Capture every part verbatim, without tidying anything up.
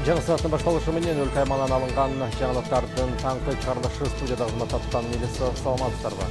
Жаңы сааттын башталышы менен өлкө аймагынан алынган жаңылыктардын таңкы чыгарылышы студияда кызмат аткан милиция саламатсыздарбы.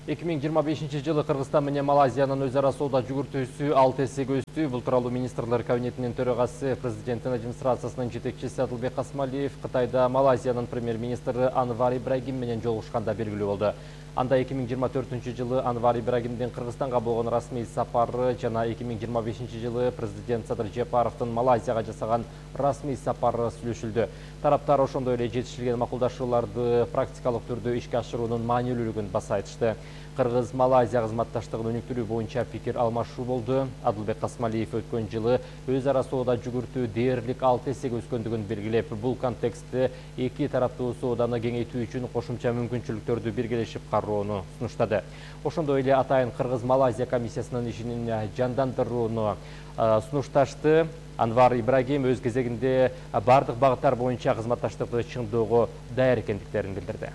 эки миң жыйырма бешинчи жылы Кыргызстан менен Малайзиянын өз ара соода жүгүртүүсү алты эсеге өстү. Бул тууралуу министрлер кабинетинин төрагасы, президенттин администрациясынын жетекчиси Адылбек Касмалиев Кытайда Малайзиянын премьер-министри Анвар Ибрагим менен жолугушканда белгилүү болду. Анда эки миң жыйырма төртүнчү жылы Анвар Ибрагимдин Кыргызстанга болгон расмий сапары жана эки миң жыйырма бешинчи жылы президент Садыр Жапаровдун Малайзияга жасаган расмий сапары сүйлөшүлдү. Тараптар ошондой эле жетишилген макулдашууларды практикалык түрдө ишке ашыруунун маанилүүлүгүн баса айтышты. Кыргыз-Малайзия кызматташтыгын өнүктүрүү боюнча пикир алмашуу болду. Адылбек Касмалиев өткөн жылы өз ара соода жүгүртүү дээрлик алты эсеге өскөндүгүн белгилеп, бул контекстте эки тараптуу сооданы кеңейтүү үчүн кошумча мүмкүнчүлүктөрдү биргелешип кароону сунуштады. Ошондой эле атайын Кыргыз-Малайзия комиссиясынын ишин жандандырууну сунушташты. Анвар Ибрагим өз кезегинде бардык багыттар боюнча кызматташтыкты чыңдоого даяр экендиктерин билдирди.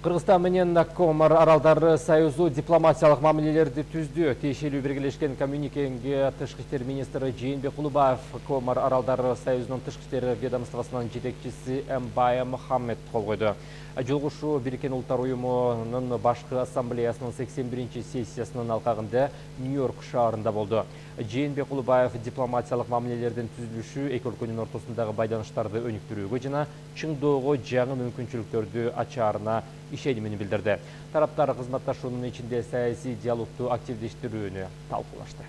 Кыргызстан менен Комор Аралдары союзу дипломатиялык мамилелерди түздү. Тиешелүү биргелешкен коммюникеге тышкы иштер министри Жээнбек Улубаев Комор Аралдары союзунун тышкы иштер ведомствосунун жетекчиси Эмбая Мухаммед кол койду. Жолугушуу Бириккен Улуттар уюмунун башкы ассамблеясынын сексен биринчи сессиясынын алкагында Нью-Йорк шаарында болду. Жээнбек Улубаев дипломатиялык мамилелердин түзүлүшү эки өлкөнүн ортосундагы байданыштарды өнүктүрүүгө жана чыңдоого жаңы мүмкүнчүлүктөрдү ачаарына ишенимин билдирди. Тараптар кызматташуунун ичинде саясий диалогду активдештирүүнү талкуулашты.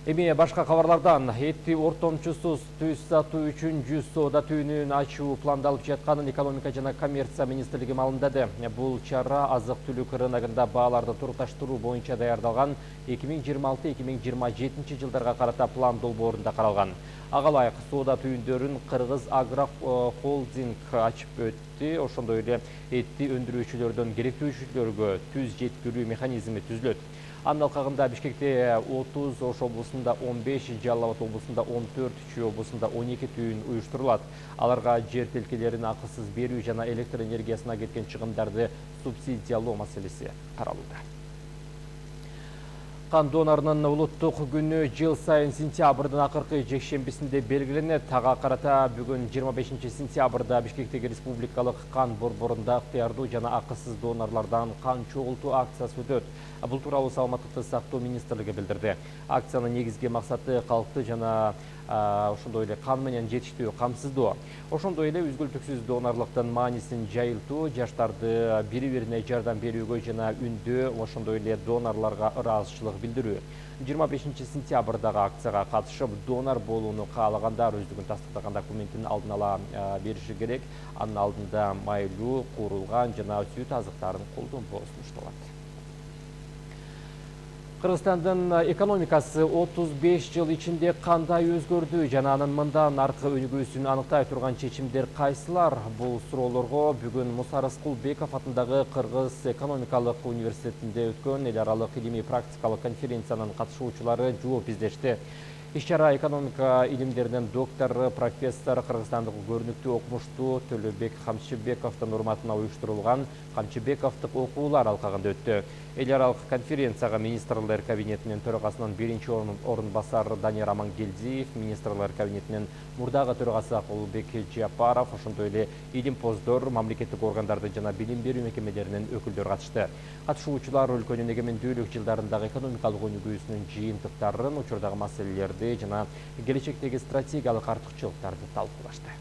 Эми башка кабарлардан этти ортомчусуз түз сатуу үчүн жүз соода түйүнүн ачуу пландалып жатканын экономика жана коммерция министрлиги маалымдады. Бул чара азык-түлүк рыногунда бааларды турукташтыруу боюнча даярдалган эки миң жыйырма алты эки миң жыйырма жетинчи жылдарга карата план долбоорунда каралган. Ага ылайык соода түйүндөрүн Кыргыз Агро Холдинг ачып өттү. Ошондой эле этти өндүрүүчүлөрдөн керектүүчүлөргө түз жеткирүү механизми түзүлөт. Анын алкагында Бишкекте отуз, Ош облусунда он беш, Жалал Абад облусунда он төрт, Чүй облусунда он эки түйүн уюштурулат. Аларга жер тилкелерин акысыз берүү жана электр энергиясына кеткен чыгымдарды субсидиялоо маселеси каралууда. Кан донорунун улуттук күнү жыл сайын сентябрдын акыркы жекшембисинде белгиленет. Ага карата бүгүн жыйырма бешинчи сентябрда Бишкектеги республикалык кан борборунда ыктыярдуу жана акысыз донорлордон кан чогултуу акциясы өтөт. Бул тууралуу Саламаттыкты сактоо министрлиги билдирди. Акциянын негизги максаты калкты жана ошондой эле кан менен жетиштүү камсыздоо. Ошондой эле үзгүлтүксүз донорлуктун маанисин жайылтуу, жаштарды бири-бирине жардам берүүгө жана үндөө, ошондой эле донорлорго ыраазычылык билдирүү. жыйырма бешинчи сентябрдагы акцияга катышып, донор болууну каалагандар өздүгүн тастыктаган документин алдын ала бериши керек. Анын алдында майлуу, куурулган жана сүт азыктарын колдонбоо сунушталат. Кыргызстандын экономикасы отуз беш жыл ичинде кандай өзгөрдү жана анын мындан аркы өнүгүүсүн аныктай турган чечимдер кайсылар? Бул суроолорго бүгүн Муса Рыскулбеков атындагы Кыргыз экономикалык университетинде өткөн эл аралык илимий практикалык конференциянын катышуучулары жооп издешти. Иш-чара экономика илимдеринин доктору, профессор, Кыргызстандык көрүнүктүү окумуштуу Төлөбек Камчыбековдун урматына уюштурулган Камчыбековдук окуулар алкагында өттү. Эл аралык конференцияга министрлер кабинетинин төрагасынын биринчи орун басары Данияр Амангелдиев, министрлер кабинетинин мурдагы төрагасы Акылбек Жапаров, ошондой эле илимпоздор, мамлекеттик органдардын жана билим берүү мекемелеринин өкүлдөрү катышты. Катышуучулар өлкөнүн эгемендүүлүк жылдарындагы экономикалык өнүгүүсүнүн жыйынтыктарын, учурдагы маселелерди жана келечектеги стратегиялык артыкчылыктарды талкуулашты.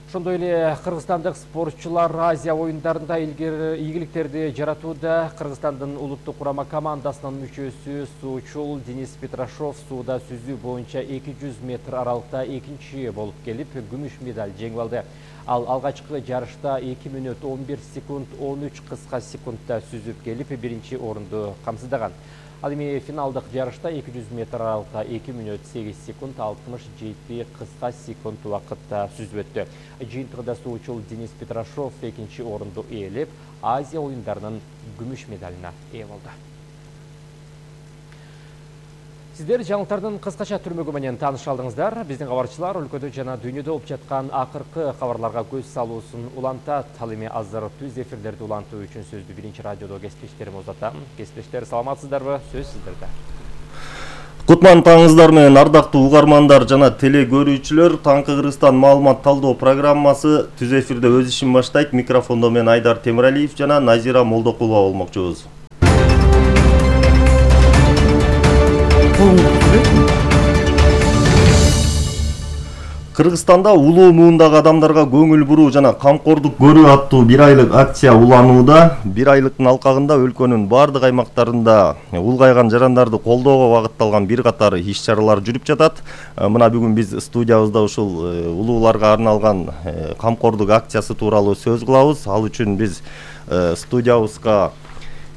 Ошондой эле кыргызстандык спортчулар Азия оюндарында ийгиликтерди жаратууда. Кыргызстандын улуттук курама командасынын мүчөсү суучул Денис Петрашов сууда сүзүү боюнча эки жүз метр аралыкта экинчи болуп келип, күмүш медаль жеңип алды. Ал алгачкы жарышта эки мүнөт он бир секунд он үч кыска секундда сүзүп келип, биринчи орунду камсыздаган. Ал эми финалдык жарышта эки жүз метр аралыкта эки мүнөт сегиз секунд алтымыш жети кыска секунд убакытта сүзүп өттү. Жыйынтыгында суучул Денис Петрашов экинчи орунду ээлеп, Азия оюндарынын күмүш медалына ээ болду. Сиздер жаңылыктардын кыскача түрмөгү менен тааныша алдыңыздар. Биздин кабарчылар өлкөдө жана дүйнөдө болуп жаткан акыркы кабарларга көз салуусун улантат. Ал эми азыр түз эфирлерди улантуу үчүн сөздү биринчи радиодо кесиптештериме узатам. Кесиптештер, саламатсыздарбы? Сөз сиздерде. Кутман таңыңыздар менен ардактуу угармандар жана теле көрүүчүлөр. Таңкы Кыргызстан маалымат талдоо программасы түз эфирде өз ишин баштайт. Микрофондо мен Айдар Темиралиев жана Назира Молдокулова болмокчубуз. Кыргызстанда улуу муундагы адамдарга көңүл буруу жана камкордук көрүү аттуу бир айлык акция уланууда. Бир айлыктын алкагында өлкөнүн бардык аймактарында улгайган жарандарды колдоого багытталган бир катар иш-чаралар жүрүп жатат. Мына бүгүн биз студиябызда ушул улууларга арналган камкордук акциясы тууралуу сөз кылабыз. Ал үчүн биз студиябызга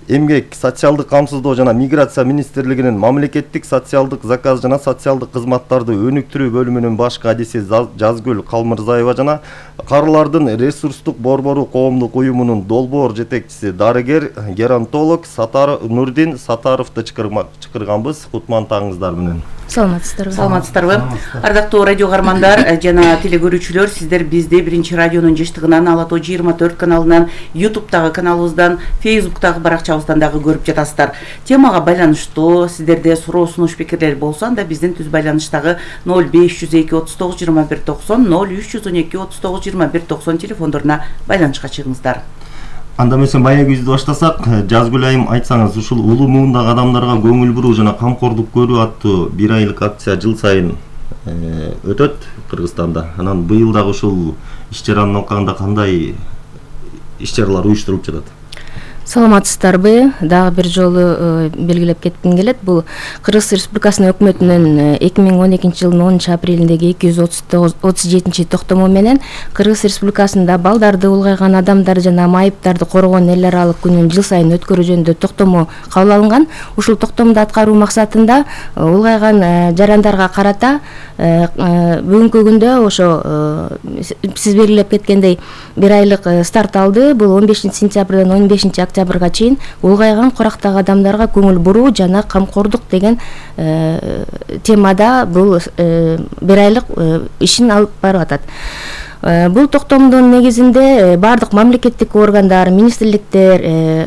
Эмгек, социалдык камсыздоо жана миграция министрлигинин мамлекеттик социалдык заказ жана социалдык кызматтарды өнүктүрүү бөлүмүнүн баш кадиси Жазгүл Калмырзаева жана Карылардын ресурстук борбору коомдук уюмунун долбоор жетекчиси дарыгер геронтолог Сатар Нурдин Сатаровду чакырганбыз. Кутман таңыңыздар менен. Саламатсыздарбы? Саламатсыздарбы? Ардактуу радио кармандар жана теле көрүүчүлөр, сиздер бизди биринчи радионун жыштыгынан, Ала тоо жыйырма төрт каналынан, ютубтагы каналыбыздан, фейсбуктагы баракчабыздан дагы көрүп жатасыздар. Темага байланыштуу сиздерде суроо сунуш пикирлер болсо, анда биздин түз байланыштагы ноль беш жүз эки отуз тогуз жыйырма бир токсон, ноль үч жүз он эки отуз тогуз жыйырма бир токсон телефондоруна байланышка чыгыңыздар. Анда эмесе баягы бизди баштасак, Жазгүл айым, айтсаңыз, ушул улуу муундагы адамдарга көңүл буруу жана камкордук көрүү аттуу бир айлык акция жыл сайын өтөт Кыргызстанда. Анан быйыл дагы ушул иш-чаранын алкагында кандай иш-чаралар уюштурулуп жатат? Саламатсыздарбы? Дагы бир жолу белгилеп кетким келет. Бул Кыргыз Республикасынын өкмөтүнүн эки миң он экинчи жылдын онунчу апрелиндеги эки жүз отуз жетинчи токтому менен Кыргыз Республикасында балдарды, улгайган адамдар жана майыптарды коргоонун эл аралык күнүн жыл сайын өткөрүү жөнүндө токтому кабыл алынган. Ушул токтомду аткаруу максатында улгайган жарандарга карата бүгүнкү күндө ошо сиз белгилеп кеткендей бир айлык старт алды. Бул он бешинчи сентябрдан он бешинчи октябрга чейин улгайган курактагы адамдарга көңүл буруу жана камкордук деген темада бул бир айлык ишин алып барып атат. Бул токтомдун негизинде бардык мамлекеттик органдар, министрликтер,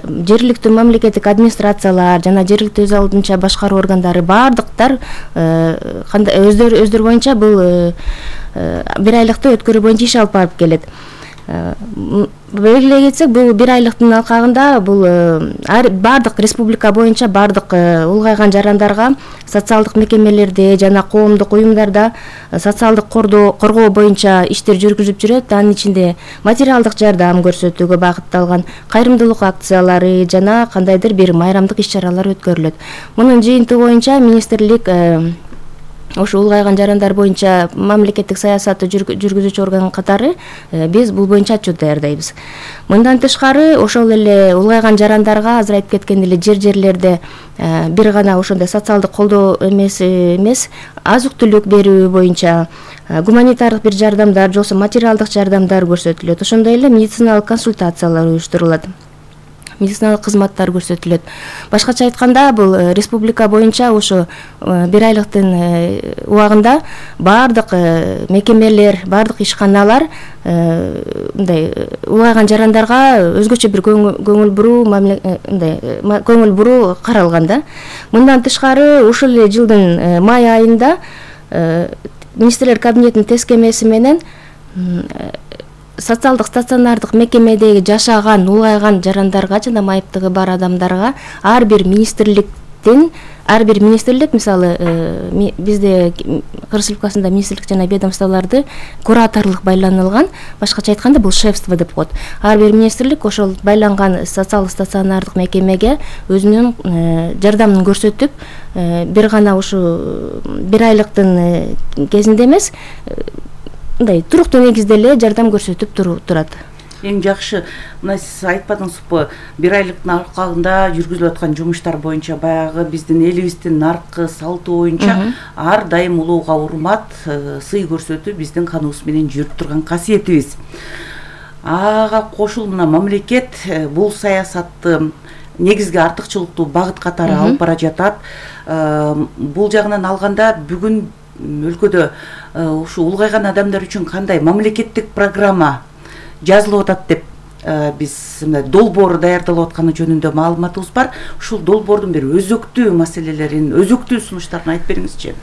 жергиликтүү мамлекеттик администрациялар жана жергиликтүү өз алдынча башкаруу органдары бардыктар өздөрү өздөрү боюнча бул бир айлыкты өткөрүү боюнча иш алып барып келет. Белгилей кетсек, бул бир айлыктын алкагында бул бардык республика боюнча бардык улгайган жарандарга социалдык мекемелерде жана коомдук уюмдарда социалдык коргоо боюнча иштер жүргүзүп жүрөт. Анын ичинде материалдык жардам көрсөтүүгө багытталган кайрымдуулук акциялары жана кандайдыр бир майрамдык иш-чаралар өткөрүлөт. Мунун жыйынтыгы боюнча министрлик ошо улгайган жарандар боюнча мамлекеттик саясатты жүргүзүүчү орган катары биз бул боюнча отчет даярдайбыз. Мындан тышкары ошол эле улгайган жарандарга азыр айтып кеткен эле жер-жерлерде бир гана ошондой социалдык колдоо эмес эмес азык-түлүк берүү боюнча гуманитардык бир жардамдар, жолсо материалдык жардамдар көрсөтүлөт. Ошондой эле медициналык консультациялар уюштурулат. Медициналык кызматтар көрсөтүлөт. Башкача айтканда, бул республика боюнча ошо бир айлыктын убагында бардык мекемелер, бардык ишканалар мындай улгайган жарандарга өзгөчө бир көңүл буруу мындай көңүл буруу каралган да. Мындан тышкары ушул эле жылдын май айында министрлер кабинетинин тескемеси менен социалдык стационардык мекемедеги жашаган улгайган жарандарга жана майыптыгы бар адамдарга ар бир министрликтин ар бир министрлик, мисалы бизде Кыргыз Республикасында министрлик жана ведомстволорду кураторлук байланылган, башкача айтканда бул шефство деп коет. Ар бир министрлик ошол байланган социалдык стационардык мекемеге өзүнүн жардамын көрсөтүп, бир гана ушу бир айлыктын кезинде эмес, мындай туруктуу негизде эле жардам көрсөтүп турат. Эң жакшы, мына сиз айтпадыңызбы, бир айлыктын алкагында жүргүзүлүп аткан жумуштар боюнча баягы биздин элибиздин наркы салты боюнча ар дайым улууга урмат, сый көрсөтүү биздин каныбыз менен жүрүп турган касиетибиз. Ага кошул мына мамлекет бул саясатты негизги артыкчылыктуу багыт катары алып бара жатат. Бул жагынан алганда бүгүн өлкөдө ушу улгайган адамдар үчүн кандай мамлекеттик программа жазылып атат деп биз мындай долбоор даярдалып атканы жөнүндө маалыматыбыз бар. Ушул долбоордун бир өзөктүү маселелерин, өзөктүү сунуштарын айтып бериңизчи.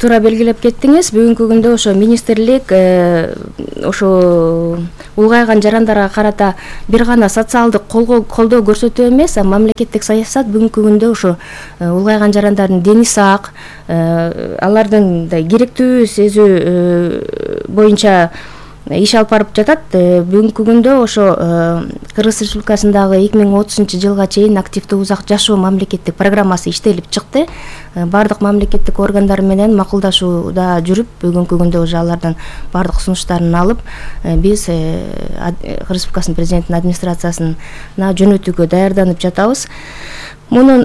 Туура белгилеп кеттиңиз. Бүгүнкү күндө ошо министрлик ошо улгайган жарандарга карата бир гана социалдык колдоо көрсөтүү эмес, а мамлекеттик саясат бүгүнкү күндө ошо улгайган жарандардын дени сак, алардын керектүү сезүү боюнча иш алып барып жатат. Бүгүнкү күндө ошо Кыргыз Республикасындагы эки миң отузунчу жылга чейин активдүү узак жашоо мамлекеттик программасы иштелип чыкты. Бардык мамлекеттик органдар менен макулдашууда жүрүп, бүгүнкү күндө уже алардын бардык сунуштарын алып, биз Кыргыз Республикасынын президентинин администрациясына жөнөтүүгө даярданып жатабыз. Мунун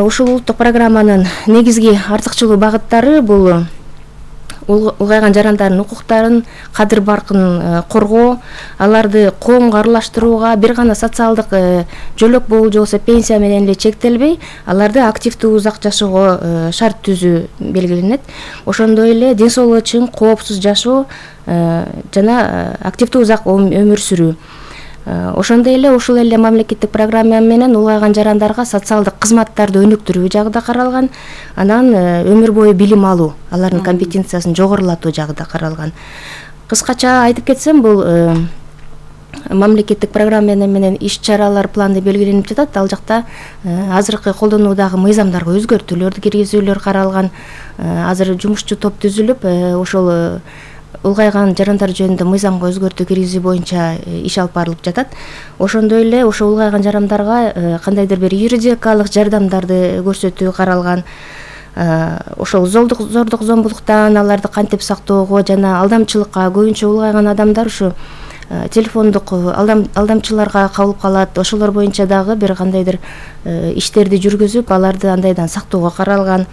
ушул улуттук программанын негизги артыкчылуу багыттары бул улгайган жарандардын укуктарын, кадыр баркын коргоо, аларды коомго аралаштырууга бир гана социалдык жөлөк болуу же болбосо пенсия менен эле чектелбей, аларды активдүү узак жашоого шарт түзүү белгиленет. Ошондой эле ден соолугу чың, коопсуз жашоо жана активдүү узак өмүр сүрүү. Ошондой эле ушул эле мамлекеттик программа менен улгайган жарандарга социалдык кызматтарды өнүктүрүү жагы да каралган, анан өмүр бою билим алуу, алардын компетенциясын жогорулатуу жагы да каралган. Кыскача айтып кетсем, бул мамлекеттик программа менен иш чаралар планы белгиленип жатат. Ал жакта азыркы колдонуудагы мыйзамдарга өзгөртүүлөрдү киргизүүлөр каралган. Азыр жумушчу топ түзүлүп, ошол улгайган жарандар жөнүндө мыйзамга өзгөртүү киргизүү боюнча иш алып барылып жатат. Ошондой эле ошо улгайган жарандарга кандайдыр бир юридикалык жардамдарды көрсөтүү каралган. Ошол зордук зордук зомбулуктан аларды кантип сактоого жана алдамчылыкка, көбүнчө улгайган адамдар ушу телефондук алдам алдамчыларга кабылып калат. Ошолор боюнча дагы бир кандайдыр иштерди жүргүзүп, аларды андайдан сактоого каралган.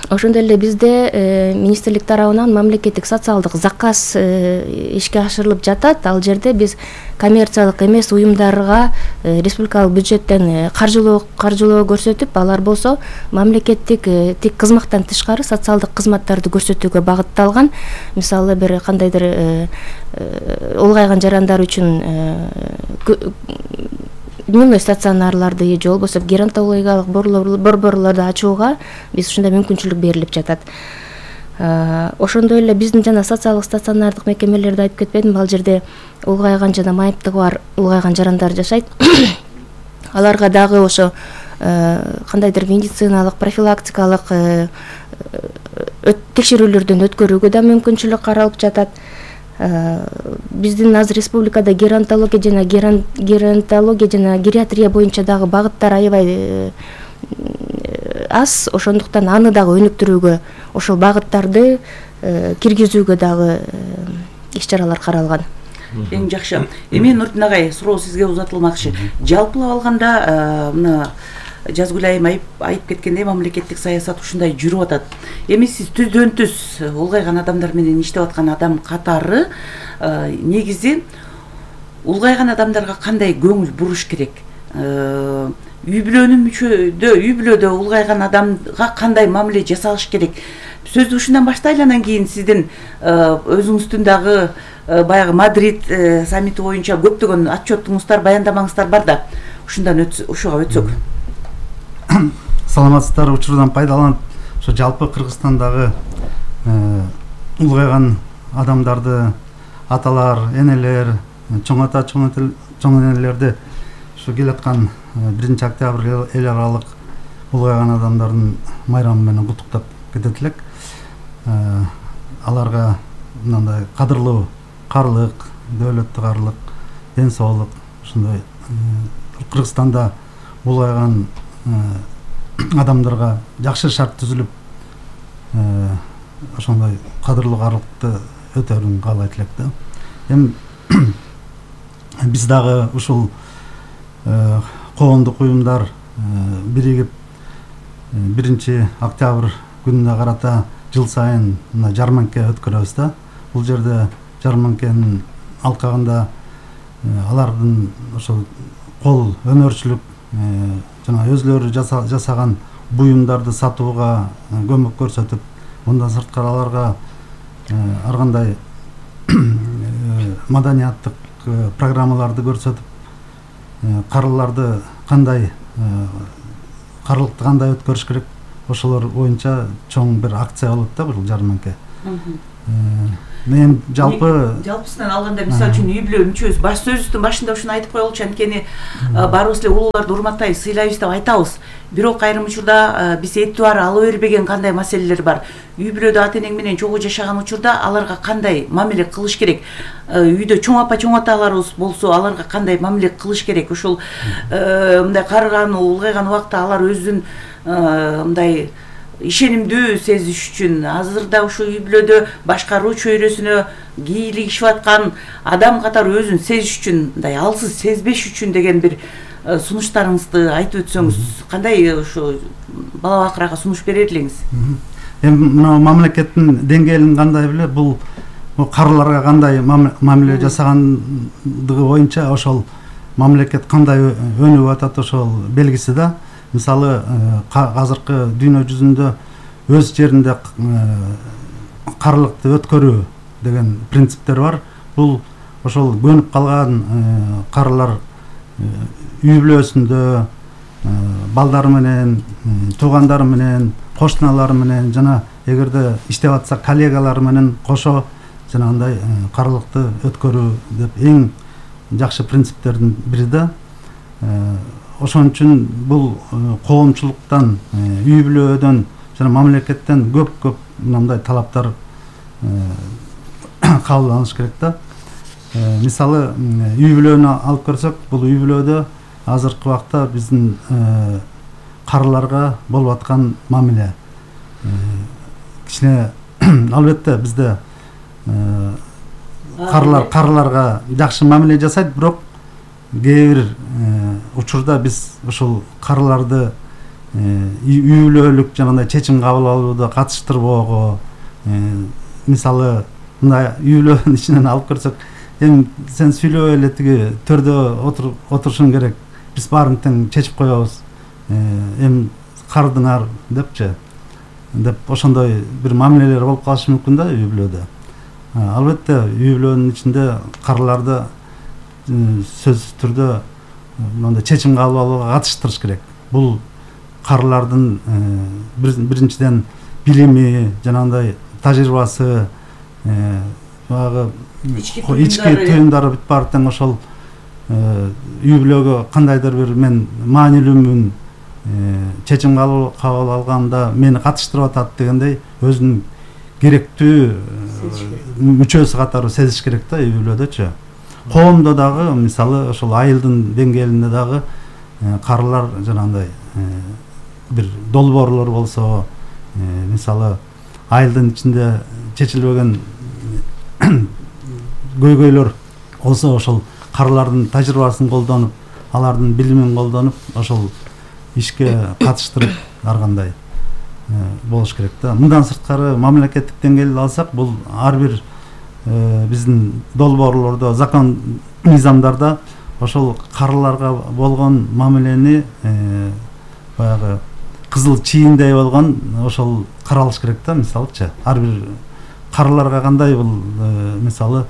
Ошондой эле бизде министрлик тарабынан мамлекеттик социалдык заказ ишке ашырылып жатат. Ал жерде биз коммерциялык эмес уюмдарга республикалык бюджеттен каржылоо каржылоо көрсөтүп, алар болсо мамлекеттик тик кызматтан тышкары социалдык кызматтарды көрсөтүүгө багытталган. Мисалы бир кандайдыр улгайган жарандар үчүн дневной стационарларды же болбосо геронтологиялык борборлорду ачууга биз ушундай мүмкүнчүлүк берилип жатат. Ошондой эле биздин жана социалдык стационардык мекемелерди айтып кетпедимби? Ал жерде улгайган жана майыптыгы бар улгайган жарандар жашайт. Аларга дагы ошо кандайдыр медициналык, профилактикалык текшерүүлөрдөн өткөрүүгө да мүмкүнчүлүк каралып жатат. Биздин азыр республикада геронтология жана геронтология жана гериатрия боюнча дагы багыттар аябай аз, ошондуктан аны дагы өнүктүрүүгө, ошол багыттарды киргизүүгө дагы иш чаралар каралган. Эң жакшы. Эми Нурдин агай, суроо сизге узатылмакчы. Жалпылап алганда мына Жазгүл айым айтып кеткендей, мамлекеттик саясат ушундай жүрүп атат. Эми сиз түздөн түз улгайган адамдар менен иштеп аткан адам катары негизи улгайган адамдарга кандай көңүл буруш керек? Үй бүлөнүн мүчөдө, үй бүлөдө улгайган адамга кандай мамиле жасалыш керек? Сөздү ушундан баштайлы, анан кийин сиздин өзүңүздүн дагы баягы Мадрид саммити боюнча көптөгөн отчетуңуздар, баяндамаңыздар бар да, ушундан ушуга өтсөк. Саламатсыздар, учурдан пайдаланып, ошо жалпы Кыргызстандагы улгайган адамдарды, аталар, энелер, чоң ата, чоң энелерди ушу келаткан биринчи октябрь эл аралык улгайган адамдардын майрамы менен куттуктап кетет элек. Аларга мындай кадырлуу карлык, дөөлөттүү карлык, ден соолук, ушундай Кыргызстанда улгайган адамдарга жакшы шарт түзүлүп, ошондой кадырлуу карлыкты өтөрүн каалайт элек да. Эми биз дагы ушул коомдук уюмдар биригип биринчи октябрь күнүнө карата жыл сайын мына жарманке өткөрөбүз да. Бул жерде жарманкенин алкагында алардын ошол кол өнөрчүлүк жана өзлөрү жасаган буюмдарды сатууга көмөк көрсөтүп, мындан сырткары аларга ар кандай маданияттык программаларды көрсөтүп, карыларды кандай карылыкты кандай өткөрүш керек, ошолор боюнча чоң бир акция болот да бул жарманке. Мен жалпы жалпысынан алганда мисалы үчүн үй бүлө мүчөбүз баш сөзүбүздүн башында ушуну айтып коелучу, анткени баарыбыз эле улууларды урматтайбыз, сыйлайбыз деп айтабыз. Бирок айрым учурда биз этибар ала бербеген кандай маселелер бар. Үй бүлөдө ата энең менен чогуу жашаган учурда аларга кандай мамиле кылыш керек? Үйдө чоң апа чоң аталарыбыз болсо, аларга кандай мамиле кылыш керек? Ошол мындай карыган, улгайган убакта алар өзүн мындай ишенимдүү сезиш үчүн азырда ушу үй бүлөдө башкаруу чөйрөсүнө кийлигишип аткан адам катары өзүн сезиш үчүн, мындай алсыз сезбеш үчүн деген бир сунуштарыңызды айтып өтсөңүз, кандай ушу бала бакырага сунуш берер элеңиз? Эми мына мамлекеттин деңгээлин кандай беле, бул карыларга кандай мамиле жасагандыгы боюнча ошол мамлекет кандай өнүгүп атат ошол белгиси да. Мисалы, азыркы дүйнө жүзүндө өз жеринде карылыкты өткөрүү деген принциптер бар. Бул ошол көнүп калган карылар үй бүлөсүндө балдары менен, туугандары менен, кошуналары менен жана эгерде иштеп атса коллегалары менен кошо жанагындай карылыкты өткөрүү деп эң жакшы принциптердин бири да. Ошон үчүн бул коомчулуктан, үй бүлөдөн жана мамлекеттен көп-көп мындай талаптар кабыл алыныш керек да. Мисалы, үй бүлөнү алып көрсөк, бул үй бүлөдө азыркы убакта биздин карыларга болуп аткан мамиле кичине албетте бизде карылар карыларга жакшы мамиле жасайт, бирок кээ бир учурда биз ушул карыларды үй бүлөлүк жанагындай чечим кабыл алууда катыштырбоого, мисалы мындай үй бүлөнүн ичинен алып көрсөк, эми сен сүйлөбөй эле тиги төрдө отурушуң керек, биз баарын тең чечип коебуз, эми кардыңар депчи, деп ошондой бир мамилелер болуп калышы мүмкүн да үй бүлөдө. Албетте үй бүлөнүн ичинде карыларды сөзсүз түрдө мындай чечим кабыл алууга катыштырыш керек. Бул карылардын биринчиден билими, жанагындай тажрыйбасы, баягы ички түйүндөрү бүт баары тең ошол үй бүлөгө кандайдыр бир мен маанилүүмүн, чечим кабыл алганда мени катыштырып атат дегендей өзүнүн керектүү мүчөсү катары сезиш керек да үй бүлөдөчү. Коомдо дагы мисалы ошол айылдын деңгээлинде дагы карылар жанагындай бир долбоорлор болсо, мисалы айылдын ичинде чечилбеген көйгөйлөр болсо, ошол карылардын тажрыйбасын колдонуп, алардын билимин колдонуп, ошол ишке катыштырып ар кандай болуш керек да. Мындан сырткары мамлекеттик деңгээлде алсак, бул ар бир биздин долбоорлордо, закон мыйзамдарда ошол карыларга болгон мамилени баягы кызыл чийиндей болгон ошол каралыш керек да. Мисалычы ар бир карыларга кандай бул мисалы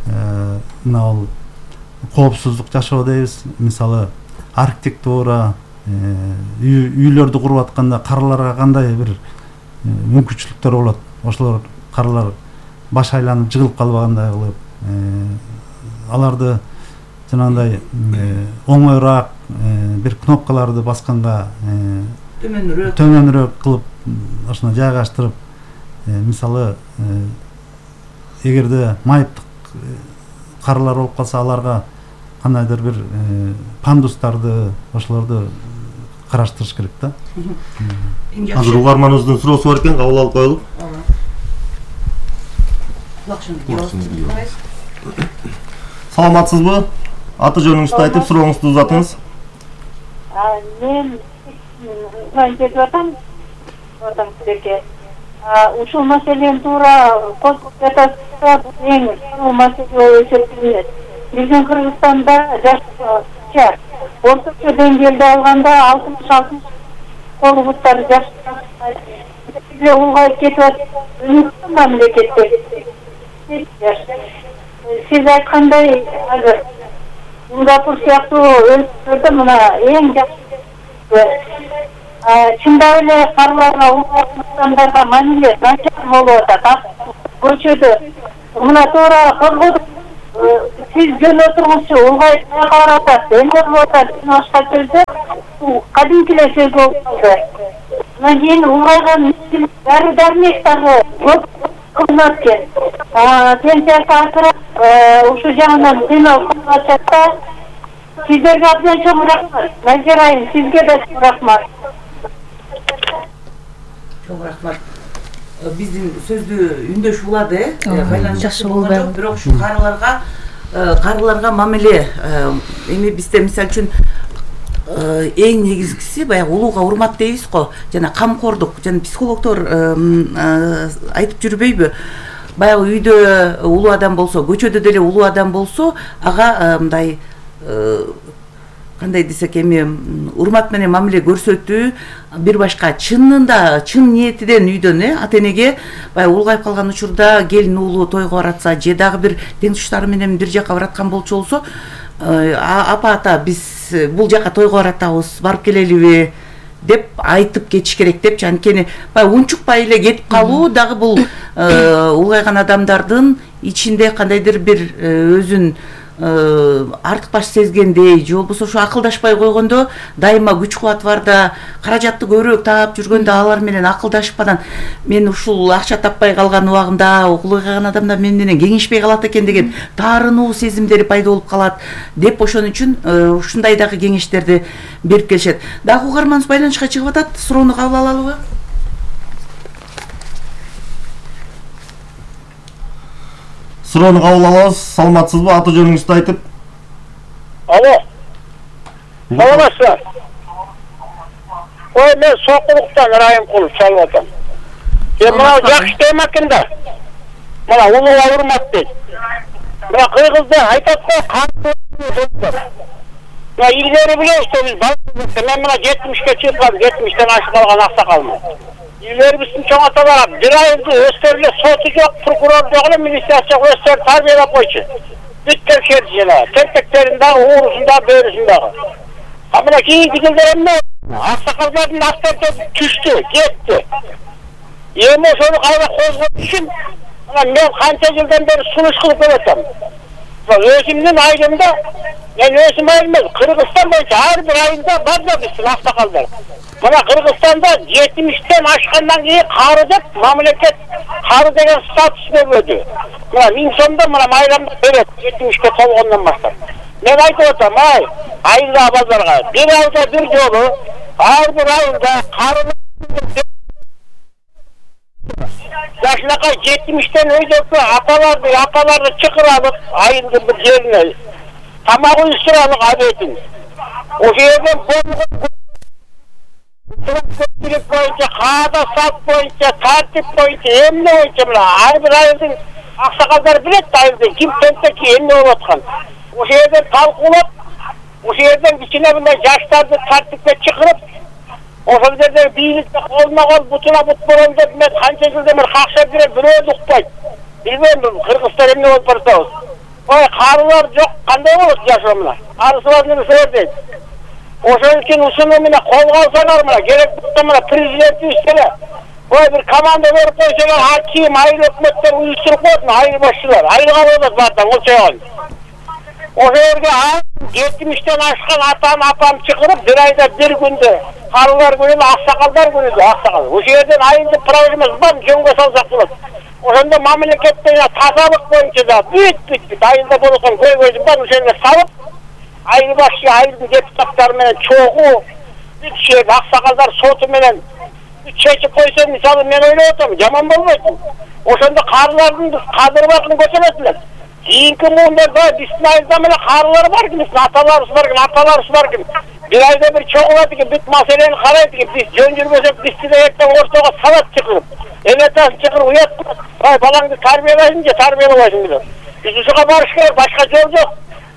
мына бул коопсуздук жашоо дейбиз, мисалы архитектура, үйлөрдү куруп атканда карыларга кандай бир мүмкүнчүлүктөр болот, ошолор карылар баш айланып жыгылып калбагандай кылып, аларды жанагындай оңоюраак бир кнопкаларды басканга төмөнүрөөк төмөнүрөөк кылып ошону жайгаштырып, мисалы эгерде майыптык карылар болуп калса, аларга кандайдыр бир пандустарды, ошолорду караштырыш керек да. Азыр угарманыбыздын суроосу бар экен, кабыл алып коелук. Саламатсызбы? Аты жөнүңүздү айтып, сурооңузду узатыңыз. Мен жетип атам, атам сиздерге. Ушул маселени туура козгоп жатасыздар, эң чоң маселе болуп эсептелет. Биздин Кыргызстанда жаш орточо деңгээлде алганда алтымыш алтымыш колубуттар жаш улгайып кетип атат. Мамлекетте сиз айткандай азыр Сингапур сыяктуу өлкөлөрдө мына эң жакшы чындап эле карыларга улуттарга мамиле начар болуп атат. Көчөдө мына туура козгодук сиз жөн отургучу улгай карап атат, эмер болуп атат, башка сөздө кадимки эле сөз болуп калды. Анан кийин улгайган дары дармек дагы көп кызмат экен. Пенсиясы асырап, ушу жагынан кыйналып калып атат. Сиздерге абдан чоң рахмат. Назира айым, сизге да чоң рахмат. Чоң рахмат. Биздин сөздү үндөш улады, жакшы болду. Бирок ушу карыларга карыларга мамиле эми бизде мисалы үчүн эң негизгиси баягы улууга урмат дейбиз го, жана камкордук, жана психологдор айтып жүрбөйбү? Баягы үйдө улуу адам болсо, көчөдө деле улуу адам болсо, ага мындай кандай десек эми урмат менен мамиле көрсөтүү, бир башка чынында чын ниетиден үйдөн э ата энеге баягы улгайып калган учурда келин уулу тойго баратса же дагы бир тең туштары менен бир жака бараткан болчу болсо, апа ата биз бул жака тойго баратабыз, барып келелиби деп айтып кетиш керек депчи. Анткени баягы унчукпай эле кетип калуу дагы бул улгайган адамдардын ичинде кандайдыр бир өзүн артыкбаш сезгендей же болбосо ушу акылдашпай койгондо, дайыма күч кубат барда каражатты көбүрөөк таап жүргөндө алар менен акылдашып анан мен ушул акча таппай калган убагымда улгайган адамдар мен менен кеңешпей калат экен деген таарынуу сезимдери пайда болуп калат деп, ошон үчүн ушундай дагы кеңештерди берип келишет. Дагы угарманыбыз байланышка чыгып атат, суроону кабыл алалыбы? Суроону кабыл алабыз. Саламатсызбы? Аты жөнүңүздү айтып. Алло. Саламатсызбы? Ой, мен Сокулуктан Райымкулов чалып атам. Мен мына жакшы тема экен да. Мына улууга урмат дейт. Мына кыргызда айтат го, кантип. Мына илгери билебиз, биз балдар, мен мына жетимишке чыккан, жетимиштен ашып калган аксакалмын. Илгери биздин чоң аталар бир айды өстөрүлө соту жок, прокурор жок эле, милиция жок, өстөр тарбиялап койчу. Бүт текшерди жана, тепектерин дагы, уурусун дагы, бөөрүсүн дагы. А мына кийинки жылдары эмне? Аксакалдардын авторитети түштү, кетти. Эми ошону кайра козгош үчүн мен канча жылдан бери сунуш кылып келатам. Өзүмдүн айылымда, мен өзүм айылым, Кыргызстан боюнча ар бир айылда бар да биздин аксакалдар. Мына Кыргызстанда жетимиштен ашкандан кийин кары деп мамлекет кары деген статус берди. Мына миң сомдон мына майрамды берет, жетимишке толгондон баштап. Мен айтып атам, ай, айылда балдарга бир айда бир жолу ар бир айылда кары жашынакай жетимиштен өйдөккө апаларды, апаларды чакыралып, айылдын бир жерине тамак уюштуралык абетин. Ошол жерден көпчүлүк боюнча, каада салт боюнча, тартип боюнча, эмне боюнча мына ар бир айылдын аксакалдары билет да, айылдын ким тентеки эмне болуп аткан. Ошол жерден талкуулап, ошол жерден кичине мындай жаштарды тартипке чакырып, ошол жерде бийликте колуна кол, бутуна бут болом деп мен канча жылдан бери какшап жүрөм, бирөө укпайт. Билбейм, Кыргызстан эмне болуп баратабыз. Ой, карылар жок, кандай болот жашоо мына? Арысыбыз нерселер дейт. Ошон үчүн ушуну мына колго алсаңар мына, керек болсо мына президентибиз деле ой бир команда берип койсоңор, аким, айыл өкмөттөр уюштуруп коет, айыл башчылар, айылга болот баардан болчогон. Ошол жерге жетимиштен ашкан атам, апам чакырып, бир айда бир күндө карылар күнү, аксакалдар күнү, аксакал. Ошол жерден айылды проблемасы бар, жөнгө салсак болот. Ошондо мамлекеттен тазалык боюнча да бүт бүт айылда болгон көйгөйдү бар, ошол жерге салып, айыл башчы, айылдын депутаттары менен чогуу, бүт шер аксакалдар соту менен чечип койсо, мисалы мен ойлоп атам, жаман болбойт. Ошондо карылардын кадыр бакын көтөрөт элек. Кийинки муундарда биздин айылда менен карылар бар экен, аталарыбыз бар экен, апаларыбыз бар экен. Бир айда бир чогулат экен, бүт маселени карайт экен, биз жөн жүрбөсөк, бизди да эртең ортого салат чакырып, элетасын чакырып уят, ай балаңды тарбиялайсың же тарбиялабайсың деп. Биз ушуга барыш керек, башка жол жок.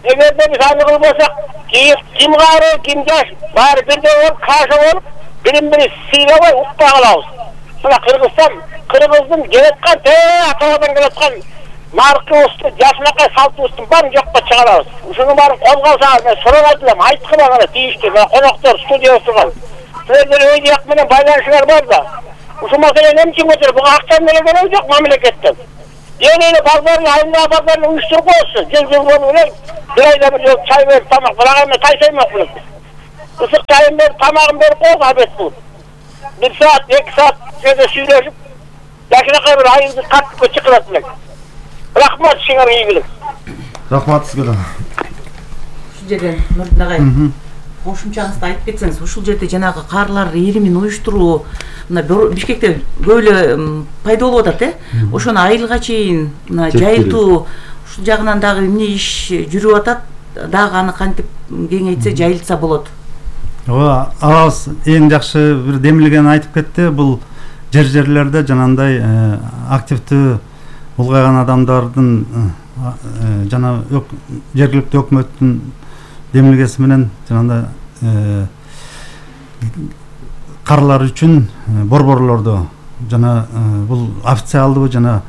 Эгерде биз аны кылбасак, ким кары, ким жаш, баары бирдей болуп, каша болуп, бирин-бири сыйлабай укпай калабыз. Мына Кыргызстан, Кыргыздын келаткан, ата-бабадан келаткан наркыбызды жашынакай салтыбыздын баарын жокко чыгарабыз. Ушуну барып колго алсаңыз, мен сурап элем, айткыла ана тийиштүү коноктор студияда турган. Силердер өй жак менен байланышыңар бар да. Ушул маселени эмче көтөрүп, буга акча менен берүү жок мамлекеттен. Эле базарын, айылда базарын уюштуруп коюшсу. Жыл-жыл менен бир айда бир жолу чай берип тамак, бирок эми тайсаймакмын. Ысык чайын берип, тамагын берип коюп абет бул. Bir saat, iki saat şöyle süйлөшүп, жакынакай бир айылды тартипке чыкырат элек. Рахмат сиңер ийгилик. Рахмат сизге да. Ушул жерден Нурдин агай, кошумчаңызды айтып кетсеңиз, ушул жерде жанагы каарлар иримин уюштуруу мына Бишкекте көп эле пайда болуп атат, э? Ошону айылга чейин мына жайылтуу ушул жагынан дагы эмне иш жүрүп атат, дагы аны кантип кеңейтсе, жайылтса болот. Ооба, алабыз эң жакшы бир демилген айтып кетти. Бул жер жерлерде жанагындай активдүү улгайган адамдардын жана жергиликтүү өкмөттүн демилгеси менен жанагындай карлар үчүн борборлорду жана бул официалдуу жана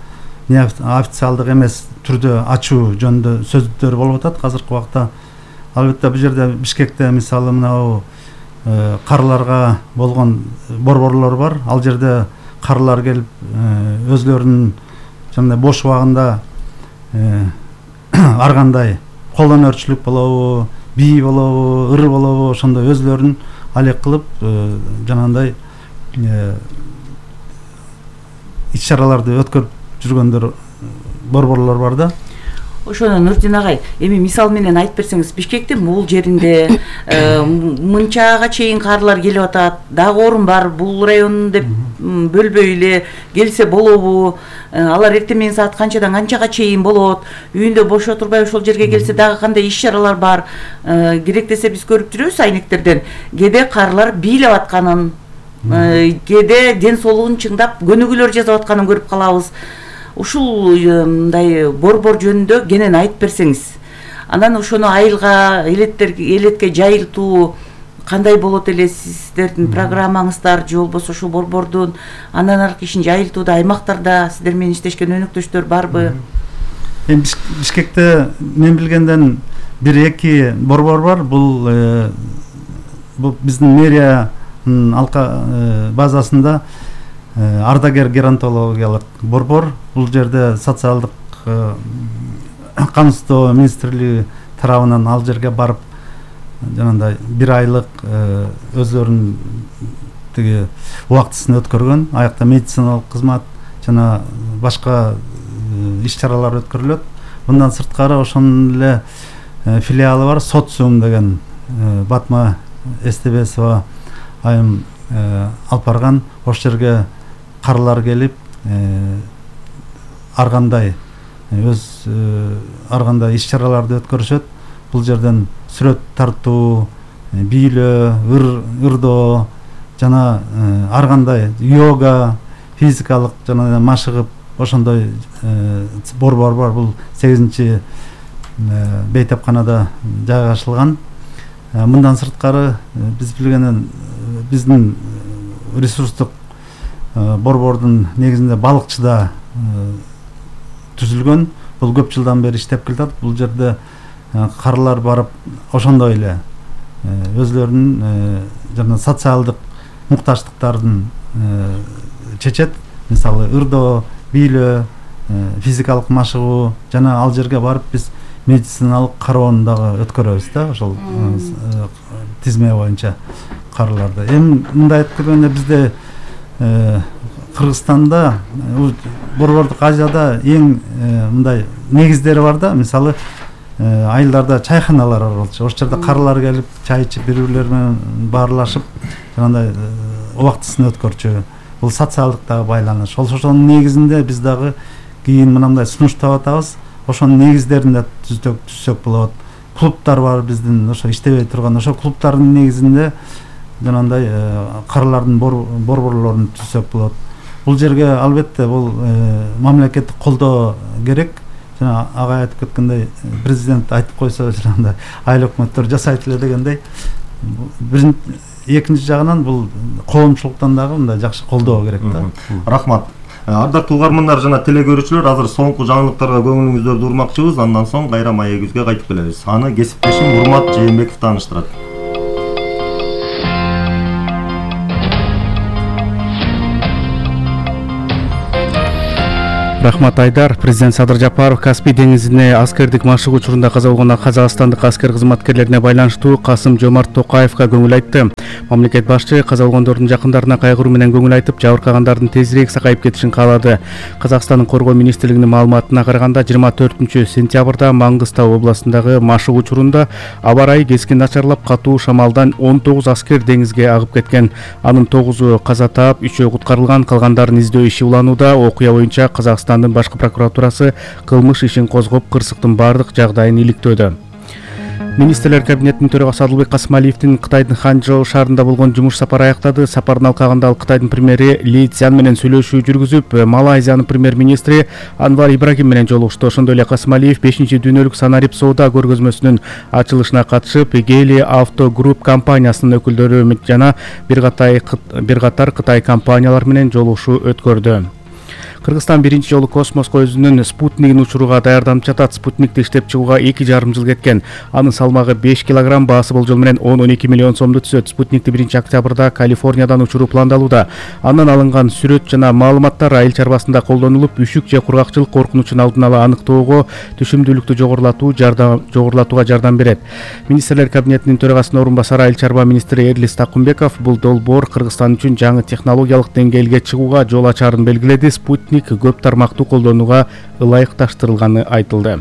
не официалдык эмес түрдө ачуу жөнүндө сөздөр болуп атат азыркы убакта. Албетте бул жерде Бишкекте мисалы мына карларга болгон борборлор бар. Ал жерде карлар келип өзлөрүнүн жана бош убагында ар кандай кол өнөрчүлүк болобу, бий болобу, ыр болобу, ошондой өзлөрүн алек кылып жанагындай иш-чараларды өткөрүп жүргөндөр борборлор бар да. Ошону Нурдин агай, эми мисал менен айтып берсеңиз, Бишкектин бул жеринде мынчага чейин карлар келип атат, дагы орун бар, бул район деп бөлбөй эле келсе болобу? Алар эртең менен саат канчадан канчага чейин болот? Үйүндө бош отурбай ошол жерге келсе дагы кандай иш-чаралар бар? Керек десе биз көрүп жүрөбүз айнектерден. Кээде карлар бийлеп атканын, кээде ден соолугун чыңдап көнүгүүлөр жасап атканын көрүп калабыз. Ушул мындай борбор жөнүндө кенен айтып берсеңиз. Анан ошону айылга, элетке жайылтуу кандай болот эле сиздердин программаңыздар же болбосо ошол борбордун андан аркы ишин жайылтууда аймактарда сиздер менен иштешкен өнөктөштөр барбы? Эми Бишкекте мен билгенден бир эки борбор бар. Бул бул биздин мэриянын алка базасында ардагер геронтологиялык борбор. Бул жерде социалдык камсыздоо министрлиги тарабынан ал жерге барып жанагындай бир айлык өзлөрүнүн тиги убактысын өткөргөн. Аякта медициналык кызмат жана башка иш-чаралар өткөрүлөт. Мындан сырткары ошонун эле филиалы бар, социум деген Батма Эстебесова айым алып барган. Ошол жерге карлар келип ар кандай өз ар кандай иш-чараларды өткөрүшөт. Бул жерден сүрөт тартуу, бийлөө, ырдоо жана ар кандай йога, физикалык жана машыгып ошондой борбор бар. Бул сегизинчи бейтапканада жайгашылган. Мындан сырткары биз билгенден биздин ресурстук борбордун негизинде балыкчыда түзүлгөн. Бул көп жылдан бери иштеп келатат. Бул жерде карлар барып ошондой эле өзлөрүнүн жана социалдык муктаждыктарын чечет. Мисалы ырдоо, бийлөө, физикалык машыгуу жана ал жерге барып биз медициналык кароону дагы өткөрөбүз да, ошол тизме боюнча карларды. Эми мындай айтып келгенде бизде Кыргызстанда, борбордук Азияда эң мындай негиздери бар да. Мисалы айылдарда чайханалар бар болчу. Ошол жерде карлар келип чай ичип, бири-бирлери менен баарлашып, жанагындай убактысын өткөрчү. Бул социалдык дагы байланыш. Ошонун негизинде биз дагы кийин мындай сунуштап атабыз. Ошонун негиздеринде түзсөк түзсөк болот. Клубтар бар биздин, ошо иштебей турган. Ошол клубтардын негизинде жанагындай карлардын борборлорун түзсөк болот. Бул жерге албетте бул мамлекеттик колдоо керек. Жана агай айтып кеткендей, президент айтып койсо жанагындай айыл өкмөттөр жасайт эле дегендей. Экинчи жагынан бул коомчулуктан дагы мындай жакшы колдоо керек да. Рахмат. Ардактуу угармандар жана телекөрүүчүлөр, азыр соңку жаңылыктарга көңүлүңүздөрдү урмакчыбыз. Андан соң кайра маегибизге кайтып келебиз. Аны кесиптешим Урмат Жээнбеков тааныштырат. Рахмат Айдар. Президент Садыр Жапаров Каспий деңизине аскердик машыгуу учурунда каза болгон казакстандык аскер кызматкерлерине байланыштуу Касым Жомарт Токаевга көңүл айтты. Мамлекет башчы каза болгондордун жакындарына кайгыруу менен көңүл айтып, жабыркагандардын тезирээк сакайып кетишин каалады. Казакстандын Коргоо министрлигинин маалыматына караганда, жыйырма төртүнчү сентябрда Маңгыстау областындагы машыгуу учурунда аба ырайы кескин начарлап, катуу шамалдан он тогуз аскер деңизге агып кеткен. Анын тогузу каза таап, үчөө куткарылган, калгандарын издөө иши уланууда. Окуя боюнча Казакстандын башкы прокуратурасы кылмыш ишин козгоп, кырсыктын бардык жагдайын иликтөөдө. Министрлер кабинетинин төрагасы Адылбек Касымалиевдин Кытайдын Ханчжоу шаарында болгон жумуш сапары аяктады. Сапардын алкагында ал Кытайдын премьери Ли Цзян менен сүйлөшүү жүргүзүп, Малайзиянын премьер-министри Анвар Ибрагим менен жолугушту. Ошондой эле Касымалиев бешинчи дүйнөлүк санарип соода көргөзмөсүнүн ачылышына катышып, Гели Авто Групп компаниясынын өкүлдөрү жана бир катар Кытай компаниялары менен жолугушуу өткөрдү. Кыргызстан биринчи жолу космоско өзүнүн спутнигин учурууга даярданып жатат. Спутникти иштеп чыгууга эки жарым жыл кеткен. Анын салмагы беш килограмм, баасы болжол менен он он эки миллион сомду түзөт. Спутникти биринчи октябрда Калифорниядан учуруу пландалууда. Андан алынган сүрөт жана маалыматтар айыл чарбасында колдонулуп, үшүк же кургакчылык коркунучун алдын ала аныктоого, түшүмдүүлүктү жогорулатуу жардам жогорулатууга жардам берет. Министрлер кабинетинин төрагасынын орун басары айыл чарба министри Эрлис Такумбеков бул долбоор Кыргызстан үчүн жаңы технологиялык деңгээлге чыгууга жол ачаарын белгиледи. Спутник көп тармактуу колдонууга ылайыкташтырылганы айтылды.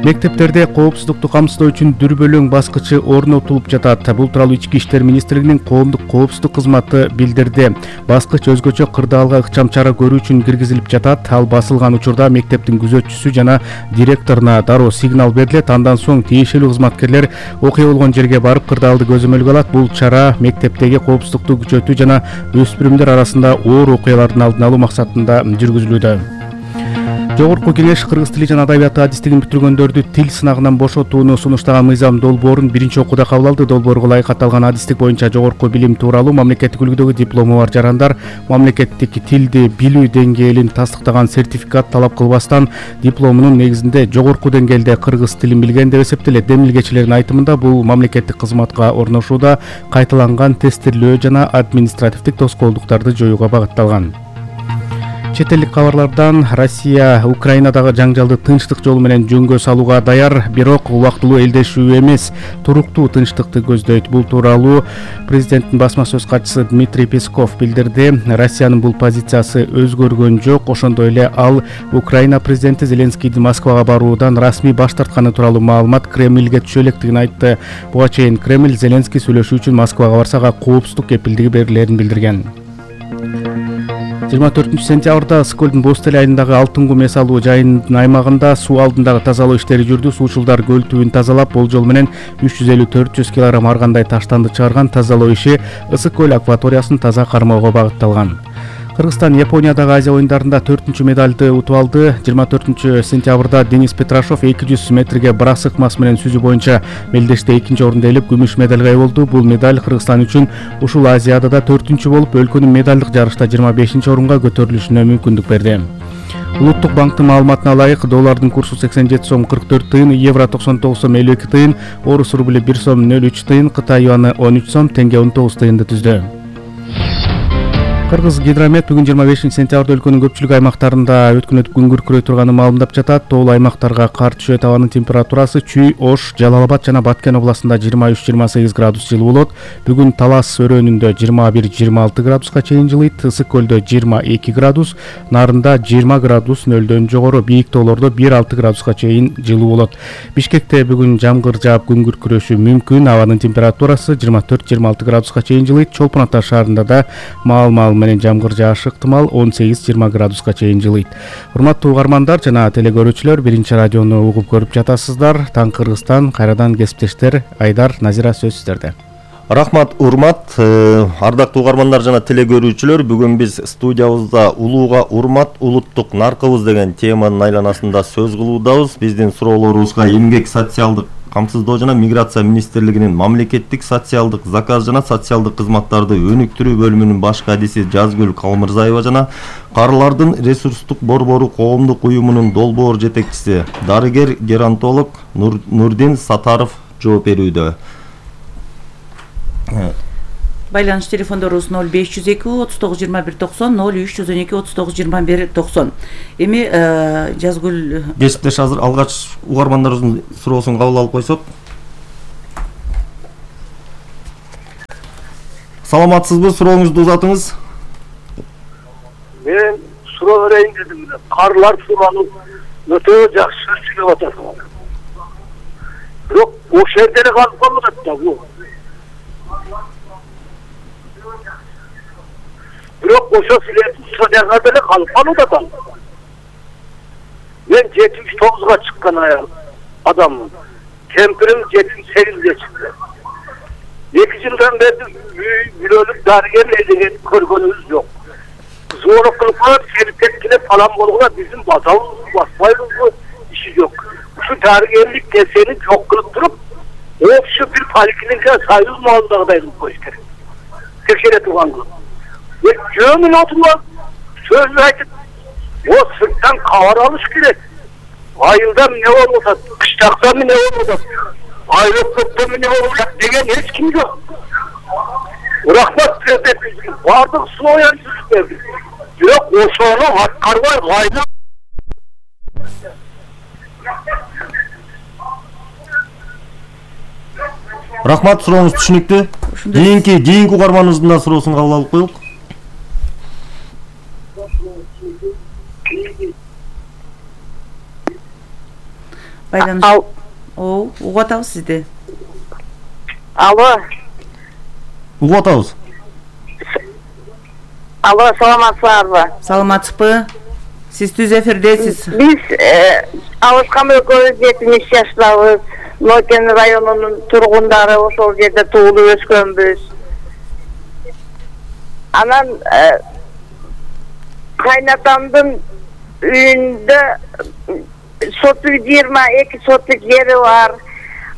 Мектептерде коопсуздукту камсыздоо үчүн дүрбөлөң баскычы орнотулуп жатат. Бул тууралуу Ички иштер министрлигинин коомдук коопсуздук кызматы билдирди. Баскыч өзгөчө кырдаалга ыкчам чара көрүү үчүн киргизилип жатат. Ал басылган учурда мектептин күзөтчүсү жана директоруна дароо сигнал берилет. Андан соң тиешелүү кызматкерлер окуя болгон жерге барып кырдаалды көзөмөлгө алат. Бул чара мектептеги коопсуздукту күчөтүү жана өспүрүмдөр арасында оор окуялардын алдын алуу максатында жүргүзүлүүдө. Жогорку кеңеш кыргыз тили жана адабияты адистигин бүтүргөндөрдү тил сынагынан бошотууну сунуштаган мыйзам долбоорун биринчи окууда кабыл алды. Долбоорго ылайык аталган адистик боюнча жогорку билим тууралуу мамлекеттик үлгүдөгү диплому бар жарандар мамлекеттик тилди билүү деңгээлин тастыктаган сертификат талап кылбастан дипломунун негизинде жогорку деңгээлде кыргыз тилин билген деп эсептелет. Демилгечилердин айтымында бул мамлекеттик кызматка орношууда кайталанган тестирлөө жана административдик тоскоолдуктарды жоюуга багытталган. Чет элдик кабарлардан Россия Украинадагы жаңжалды тынчтык жолу менен жөнгө салууга даяр, бирок убактылуу элдешүү эмес, туруктуу тынчтыкты көздөйт. Бул тууралуу президенттин басма сөз катчысы Дмитрий Песков билдирди. Россиянын бул позициясы өзгөргөн жок. Ошондой эле ал Украина президенти Зеленскийдин Москвага баруудан расмий баш тартканы тууралуу маалымат Кремльге түшө электигин айтты. Буга чейин Кремль Зеленский сүйлөшүү үчүн Москвага барсага коопсуздук кепилдиги берилерин билдирген. жыйырма төртүнчү сентябрда Сколдун Бостель айылындагы Алтын кум эс алуу жайынын аймагында суу алдындагы тазалоо иштери жүрдү. Суучулдар көл түбүн тазалап, болжол менен үч жүз элүү төрт жүз килограмм ар кандай таштанды чыгарган. Тазалоо иши Ысык көл акваториясын таза кармоого багытталган. Кыргызстан Япониядагы Азия оюндарында төртүнчү медалды утуп алды. жыйырма төртүнчү сентябрда Денис Петрашов эки жүз метрге брас сыкмасы менен сүзүү боюнча мелдеште экинчи орунду ээлеп, күмүш медалга ээ болду. Бул медаль Кыргызстан үчүн ушул Азиядада төртүнчү болуп, өлкөнүн медалдык жарышта жыйырма бешинчи орунга көтөрүлүшүнө мүмкүндүк берди. Улуттук банктын маалыматына ылайык, доллардын курсу сексен жети сом кырк төрт тыйын, евро токсон тогуз сом элүү эки тыйын, орус рубли бир сом нөл үч тыйын, Кытай юаны он үч сом, тенге он тогуз тыйынды түздү. Кыргыз гидромет бүгүн жыйырма бешинчи сентябрда өлкөнүн көпчүлүк аймактарында өткөн өтүп күн күркүрөй турганын маалымдап жатат. Тоолуу аймактарга кар түшөт, абанын температурасы Чүй, Ош, Жалал Абад жана Баткен областында жыйырма үч жыйырма сегиз градус жылуу болот. Бүгүн Талас өрөөнүндө жыйырма бир жыйырма алты градуска чейин жылыйт. Ысык көлдө жыйырма эки градус, Нарында жыйырма градус нөлдөн жогору, бийик тоолордо бир алты градуска чейин жылуу болот. Бишкекте бүгүн жамгыр жаап күн күркүрөшү мүмкүн. Абанын температурасы жыйырма төрт жыйырма алты градуска чейин жылыйт. Чолпон Ата шаарында да маал-маал менен жамгыр жаашы ыктымал, он сегиз жыйырма градуска чейин жылыйт. Урматтуу угармандар жана телекөрүүчүлөр, биринчи радиону угуп көрүп жатасыздар. Таң Кыргызстан, кайрадан кесиптештер Айдар, Назира сөз сиздерде. Рахмат, урмат, ардактуу угармандар жана телекөрүүчүлөр, бүгүн биз студиябызда улууга урмат, улуттук наркыбыз деген теманын айланасында сөз кылуудабыз. Биздин суроолорубузга эмгек социалдык камсыздоо жана миграция министрлигинин мамлекеттик социалдык заказ жана социалдык кызматтарды өнүктүрүү бөлүмүнүн баш кадиси Жазгүл Калмырзаева жана Карылардын ресурстук борбору коомдук уюмунун долбоор жетекчиси дарыгер геронтолог Нур, Нурдин Сатаров жооп берүүдө. Байланыш телефондорубуз ноль беш жүз эки отуз тогуз жыйырма бир токсон, ноль үч жүз он эки отуз тогуз жыйырма бир токсон. Эми Жазгүл кесиптеш азыр алгач угармандарыбыздын суроосун кабыл алып койсок. Саламатсызбы? Сурооңузду узатыңыз. Мен суроо берейин дедим. Карлар суроonu өтө жакшы сүйлөп атат. Бирок ошол жерде калып калат да бул. Бирок ошо сүйлөтүп содага деле калып калат да. Мен жетимиш тогузга чыккан аял адаммын. Кемпирим жетимиш сегизге чыкты. Эки жылдан бери бирөөлүк дарыгер деген көргөнүбүз жок. Звонок кылып коюп, келип кеткиле falan болгола биздин базабыз баспайбызбы, иши жок. Ушу дарыгерлик нерсени жок кылып туруп, общий бир поликлиника союз маалындагыдай кылып коюш керек. Текшере турган кылып. Жөмүн отула сөз айтып, о сырттан кабар алыш керек. Айылда эмне болуп атат, кыштакта эмне болуп атат, айрыкта эмне болуп атат деген эч ким жок. Рахмат президент бардык слоян берди. Бирок ошону аткарбай кайда. Рахмат, сурооңуз түшүнүктүү. Кийинки кийинки угарманыбыздын да суроосун кабыл алып коелук. Байланыш. О, угуп атабыз сизди. Алло. Угуп атабыз. Алло, саламатсыздарбы? Саламатсызбы? Сиз түз эфирдесиз. Биз Алышкан экөөбүз жетимиш жаштабыз. Нокен районунун тургундары, ошол жерде туулуп өскөнбүз. Анан кайнатамдын үйүндө соттук жыйырма эки соттук жери бар.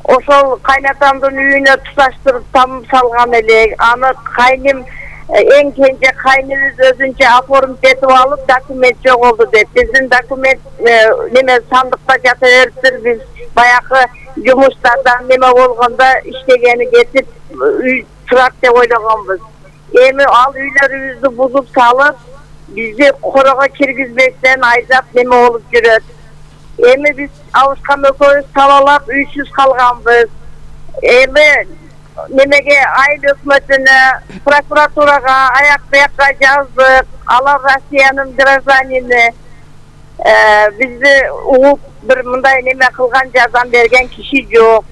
Ошол кайнатамдын үйүнө туташтырып там салган элек. Аны кайным эң кенже кайныбыз өзүнчө оформить этип алып, документ жоголду деп. Биздин документ неме сандыкта жата бериптир. Биз баягы жумуштардан неме болгондо иштегени кетип үй турат деп ойлогонбуз. Эми ал үйлөрүбүздү бузуп салып, бизди корого киргизбестен айдап неме болуп жүрөт. Эми биз Алышкан экөөбүз талалап үйсүз калганбыз. Эми немеге айыл өкмөтүнө, прокуратурага аяк буякка жаздык. Алар Россиянын гражданини. Бизди угуп бир мындай неме кылган, жардам берген киши жок.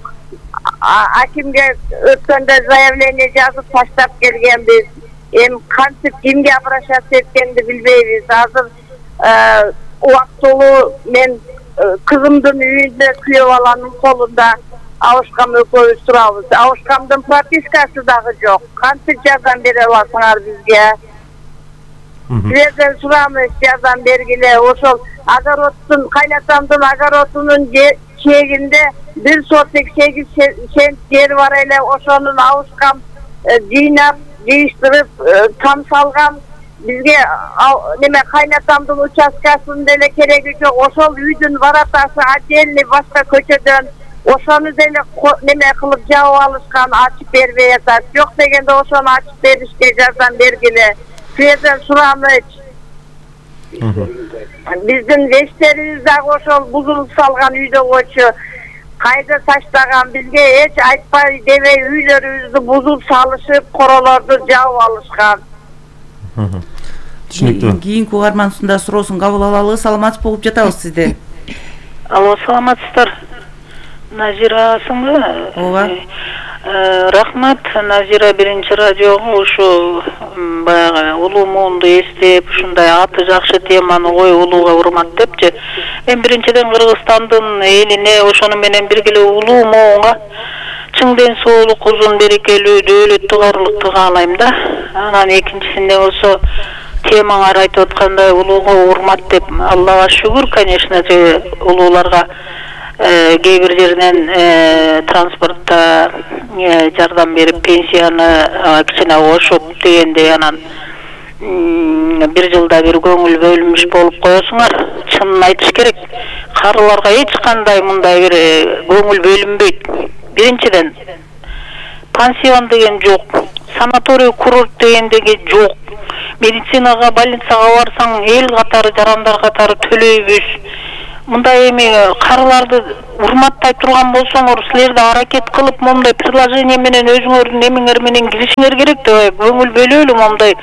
Акимге өткөндө заявление жазып таштап келгенбиз. Эми кантип кимге обращаться эткенди билбейбиз. Азыр убактылуу мен кызымдын үйүндө күйөө баланын колунда Алышкан экөөбүз турабыз. Алышкандын пропискасы дагы жок. Кантип жардам бере аласыңар бизге? Силерден сурамыз, жардам бергиле. Ошол огородтун, кайнатамдын огородунун чегинде бир сотик сегиз сент жери бар эле. Ошонун Алышкан жыйнап, жыйыштырып, там салган. Бизге неме кайнатамдын участкасын деле кереги жок. Ошол үйдүн воротасы отдельный башка көчөдөн. Ошону деле неме кылып жабып алышкан, ачып бербей атат. Жок дегенде ошону ачып беришке жардам бергиле. Силерден сурамыз. Биздин вештерибиз дагы ошол бузулуп салган үйдөгөчү. Кайда таштаган, бизге эч айтпай дебей үйлөрүбүздү бузуп салышып, королорду жабып алышкан. Түшүнүктүү. Кийинки угарманыбыздын суроосун кабыл алалы. Саламатсыз болуп жатабыз сизде. Алло, саламатсыздар. Назирасыңбы? Ооба. Рахмат, Назира биринчи радиого ушу баягы улуу муунду эстеп, ушундай аты жакшы теманы коюп, улууга урмат депчи. Мен биринчиден Кыргызстандын элине, ошону менен биргеле улуу муунга чың ден соолук, узун берекелүү дөөлөттү каарылыкты каалайм да. Анан экинчисинде болсо темаңар айтып аткандай улууга урмат деп, Аллага шүгүр, конечно же, улууларга кээ бир жеринен транспортто жардам берип пенсияны кичине кошуп дегендей, анан бир жылда бир көңүл бөлүнүш болуп коесуңар. Чынын айтыш керек, карыларга эч кандай мындай бир көңүл бөлүнбөйт. Биринчиден, пансион деген жок, санаторий курорт дегендеги жок. Медицинага, больницага барсаң эл катары, жарандар катары төлөйбүз. Мындай эми карыларды урматтай турган болсоңор, силер да аракет кылып момундай предложение менен өзүңөрдүн эмеңер менен киришиңер керек да, көңүл бөлөлү момундай.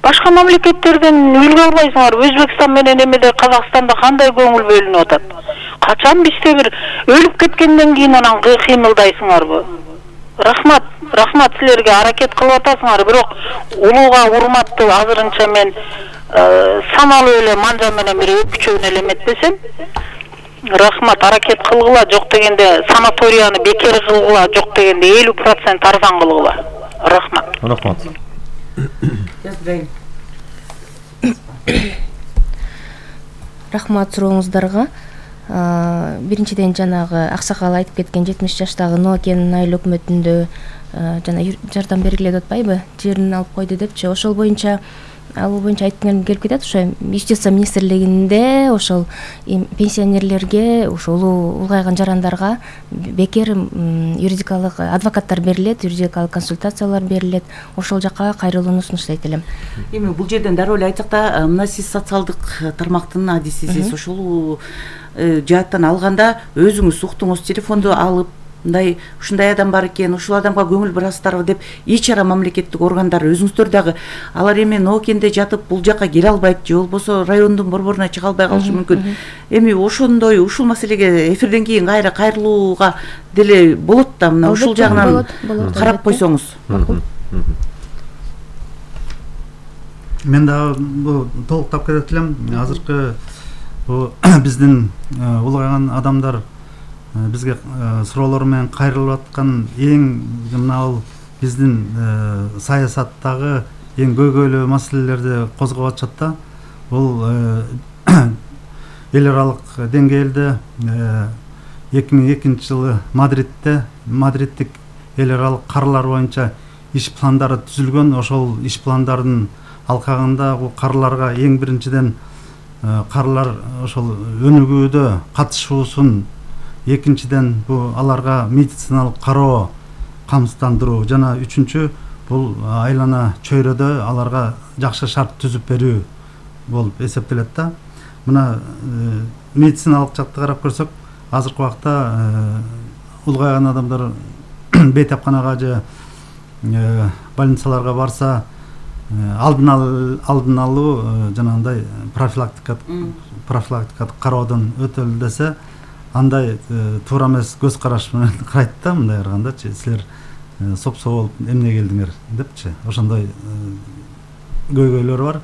Башка мамлекеттерден үлгү албайсыңар. Өзбекстан менен эмеде Казакстанда кандай көңүл бөлүнүп атат? Качан бизде бир өлүп кеткенден кийин анан кыймылдайсыңарбы? Рахмат, рахмат силерге, аракет кылып атасыңар, бирок улууга урматты азырынча мен саналуу эле манжа менен бир өпүчөөнү эле эметпесем. Рахмат, аракет кылгыла, жок дегенде санаторияны бекер кылгыла, жок дегенде элүү процент арзан кылгыла. Рахмат. Рахмат. Рахмат сурооңуздарга. Биринчиден жанагы аксакал айтып кеткен жетимиш жаштагы Ноокенин айыл өкмөтүндө жана жардам бергиле деп атпайбы, жерин алып койду депчи. Ошол боюнча ал боюнча айткым келип кетет. Ошо иш жасоо министрлигинде ошол пенсионерлерге, ошол улгайган жарандарга бекер юридикалык адвокаттар берилет, юридикалык консультациялар берилет. Ошол жака кайрылууну сунуштайт элем. Эми бул жерден дароо эле айтсак да, мына сиз социалдык тармактын адисисиз. Ошол жааттан алганда өзүңүз уктуңуз, телефонду алып, мындай ушундай адам бар экен, ушул адамга көңүл бурасыздарбы деп эч ара мамлекеттик органдар өзүңүздөр дагы алар эми Ноокенде жатып бул жака келе албайт же болбосо райондун борборуна чыга албай калышы мүмкүн. Эми ошондой ушул маселеге эфирден кийин кайра кайрылууга деле болот да, мына ушул жагынан карап койсоңуз. Мен дагы бул толуктап кетет элем. Азыркы биздин улгайган адамдар бизге суроолор менен кайрылып аткан эң мына биздин саясаттагы эң көйгөйлүү маселелерди козгоп атышат да. Бул эл аралык деңгээлде эки миң экинчи жылы Мадридте Мадридтик эл аралык карылар боюнча иш пландары түзүлгөн. Ошол иш пландардын алкагында бул карыларга эң биринчиден карылар ошол өнүгүүдө катышуусун, экинчиден бул аларга медициналык кароо камсыздандыруу жана үчүнчү бул айлана чөйрөдө аларга жакшы шарт түзүп берүү болуп эсептелет да. Мына медициналык жакты карап көрсөк, азыркы убакта улгайган адамдар бейтапканага же больницаларга барса алдын алдын алуу жанагындай профилактикалык профилактикалык кароодон өтөлү десе, андай туура эмес көз караш менен карайт да, мындай карагандачы, силер сопсо болуп эмне келдиңер депчи. Ошондой көйгөйлөр бар.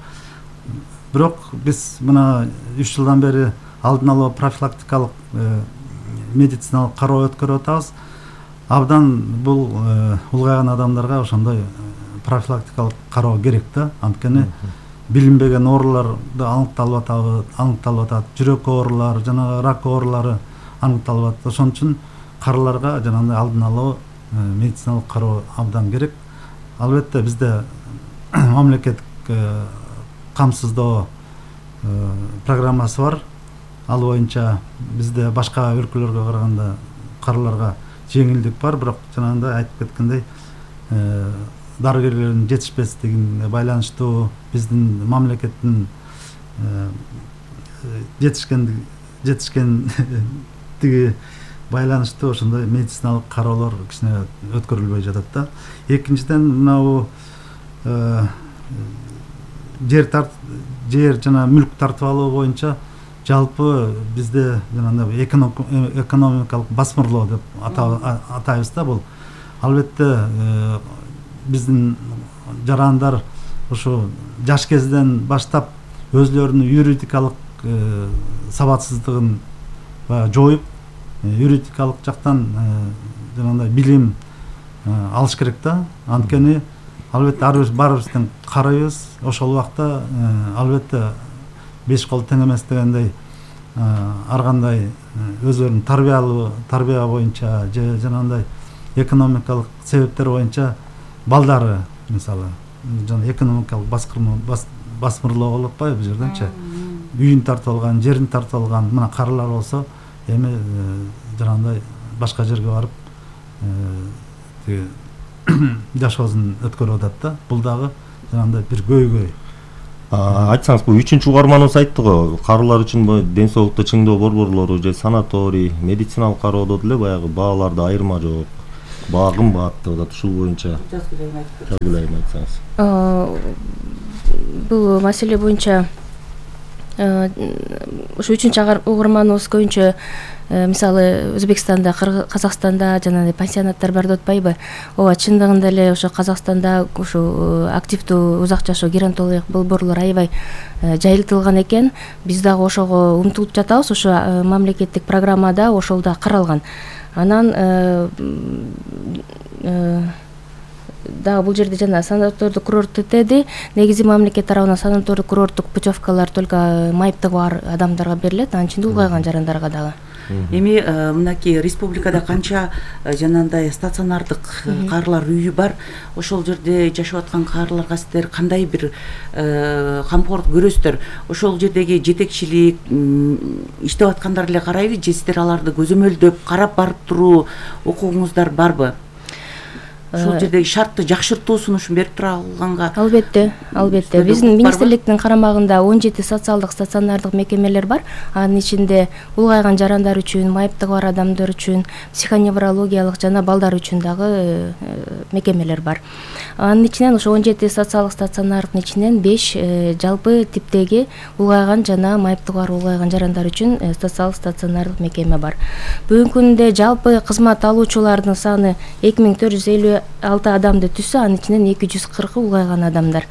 Бирок биз мына үч жылдан бери алдын алуу профилактикалык медициналык кароо өткөрүп атабыз. Абдан бул улгайган адамдарга ошондой профилактикалык кароо керек да. Анткени билинбеген ооруларды аныкталып атат, аныкталып атат, жүрөк оорулары, жана рак оорулары аныкталып атат. Ошон үчүн карыларга жанагындай алдын алуу медициналык кароо абдан керек. Албетте бизде мамлекеттик камсыздоо программасы бар. Ал боюнча бизде башка өлкөлөргө караганда карыларга жеңилдик бар, бирок жанагындай айтып кеткендей дарыгерлердин жетишпестигине байланыштуу биздин мамлекеттин жетишкен жетишкендиги байланыштуу ошондой медициналык кароолор кичине өткөрүлбөй жатат да. Экинчиден мынау жер тарт жер жана мүлк тартып алуу боюнча жалпы бизде жанагындай экономикалык басмырлоо деп атайбыз да. Бул албетте биздин жарандар ошо жаш кезден баштап өзлөрүнүн юридикалык сабатсыздыгын жоюп, юридикалык жактан жанагындай билим алыш керек да. Анткени албетте ар баарыбыздын карайбыз. Ошол убакта албетте беш кол тең эмес дегендей ар кандай өздөрүнүн тарбиялуу тарбия боюнча же жанагындай экономикалык себептер боюнча балдары мисалы жана экономикалык баскырма басмырлоо болуп атпайбы бул жерденчи үйүн тартып алган, жерин тартып алган мына карылар болсо эми жанагындай башка жерге барып тиги жашоосун өткөрүп атат да. Бул дагы жанагындай бир көйгөй. Айтсаңыз, бул үчүнчү угарманыбыз айтты го, карылар үчүн ден соолукту чыңдоо борборлору же санаторий, медициналык кароодо деле баягы бааларда айырма жок. Баа кымбат деп атат. Ушул боюнча жазгылайм айтсаңыз. Бул маселе боюнча ушу үчүнчү угарманыбыз көбүнчө мисалы Өзбекстанда, Казакстанда жанагындай пансионаттар бар деп атпайбы? Ооба, чындыгында эле ошо Казакстанда ушу активдүү узак жашоо геронтологиялык борборлор аябай жайылтылган экен. Биз дагы ошого умтулуп жатабыз. Ошо мамлекеттик программада ошол да каралган. Анан дагы бул жерде жана санатордук курорттук деди. Негизи мамлекет тарабынан санатордук курорттук путевкалар только майыптыгы бар адамдарга берилет, анын ичинде улгайган жарандарга дагы. Эми мынакей республикада канча жанагындай стационардык карылар үйү бар? Ошол жерде жашап аткан карыларга сиздер кандай бир камкорлук көрөсүздөр? Ошол жердеги жетекчилик иштеп аткандар эле карайбы же сиздер аларды көзөмөлдөп карап барып туруу укугуңуздар барбы? Ошол жердеги шартты жакшыртуусун ушун берип тура алганга. Албетте, албетте. Биздин министрликтин карамагында он жети социалдык стационардык мекемелер бар. Анын ичинде улгайган жарандар үчүн, майыптыгы бар адамдар үчүн, психоневрологиялык жана балдар үчүн дагы мекемелер бар. Анын ичинен ошо он жети социалдык стационардын ичинен беш жалпы типтеги улгайган жана майыптыгы бар улгайган жарандар үчүн социалдык стационардык мекеме бар. Бүгүнкү күндө жалпы кызмат алуучулардын саны эки миң төрт жүз элүү алты адамды түзсө, анын ичинен эки жүз кыркы улгайган адамдар.